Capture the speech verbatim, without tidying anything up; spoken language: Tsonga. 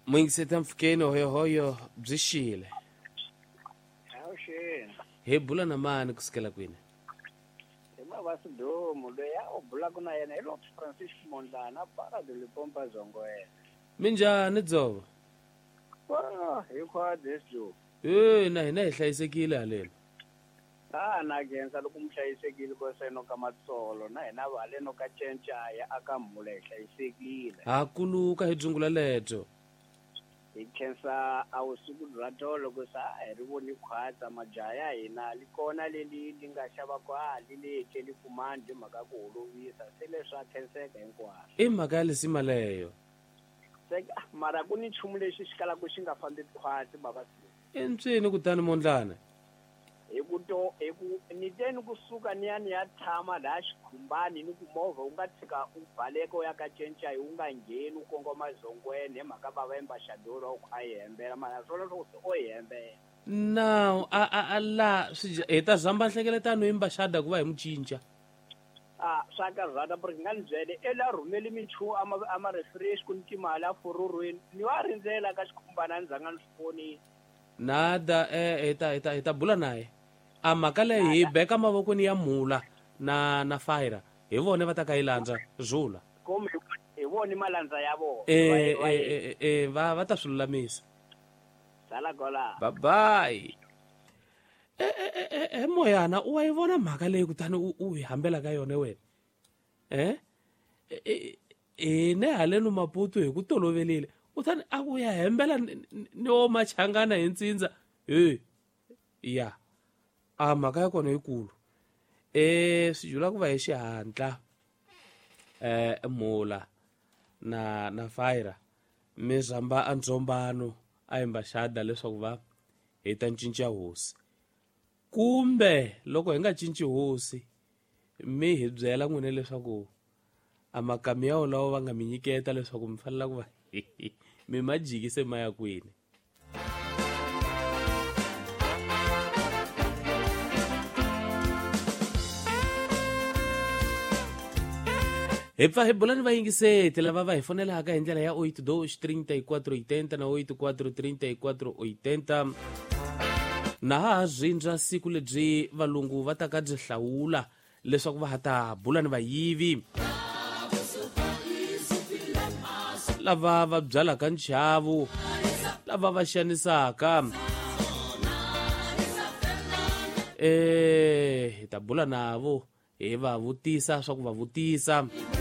Muyingiseti mpfhukeni hoyohoyo byi xile. Avuxeni. Hi bula na mani kusukela kwini? Hi Mavasidomu loyi a u bulaka na yena hi Lord Francis Mondlana para de Lipompa Zongoela. Minjhani Dzovo? Wa hi khwadi Dzovo. Eh na hina hi hlayisekile haleni. Ah na khensa loko mi hlayisekile ko se no ka matsolo na hina va haleno ka Cencaya aka Mhula hi hlayisekile. Ha kuluka hi dzungula lebyo. Hi khensa a vusiku bya tolo ku sa a hi ri voni khwatsa majaha ya hina li kona leli li nga xava kwali li tleli kumandi hi mhaka ku holovisa se leswi a khenseka hinkwaswo. I mhaka ya lisima leyo. Se mara ku ni nchumu lexi xi kalaka xi nga fambi khwatsi baba. I ntswini kutani Mondlana? Hi ku to hi ku ni te ni kusuka ni ya ni ya tshama laha xikhumbani ni ku movha wu nga tshika u baleka u ya ka Cencaya wu nga ngheni u kongoma Zongweni hi mhaka bava embaxador wa ku a yi hembela mara swona swo se o yi hembela. Now a a a la swi hi ta zamba nhlengeletano hi mbaxada ku va hi mu cinca. A swa karhata ku ri nga ni byele e la rhumeli minchumu a ma a ma refresh ku ni timali a fororweni ni wa rindzela ka xikhumbana a ni zanga ni swi vonile. Nada eh hi ta hi ta hi ta bula naye. A mhaka leyi hi beka mavokweni ya Mhula na na Fire hi vona va ta ka yi landza Zula. Kumbe hi vona malandza ya vona. Eh eh eh va va ta swi lulamisa. Sala kola. Bye bye. Eh eh eh Moyana u wa yi vona mhaka leyi kutani u u hi hambela ka yona wena. Eh eh ne haleno Maputo hi ku tolovelile. Kutani a ku ya hembela ni wo machangana hi ntsindza. Eh ya. A mhaka ya kona yikulu. Eh swi jula ku va hi xihatla. Eh Mhula na na Fire mi zamba a ndzhombano a embaxada leswaku va hi ta cinca hosi. Kumbe loko hi nga cinci hosi mi hi byela n'wina leswaku a makami ya wolawo va nga mi nyiketa leswaku mi fanela ku va mi ma jikise ma ya kwini. Hi pfa hi bula ni vayingiseti lava va hi fonelaka hi ndlela ya oito dois trinta e quatro oitenta na oito quatro trinta e quatro oitenta. Na ha rindza siku lebyi valungu va ta ka byi hlawula leswaku va ha ta bula ni vayivi lava va byalaka nchavu, lava va xanisaka. Eh hi ta bula navo hi va vutisa swa ku va vutisa.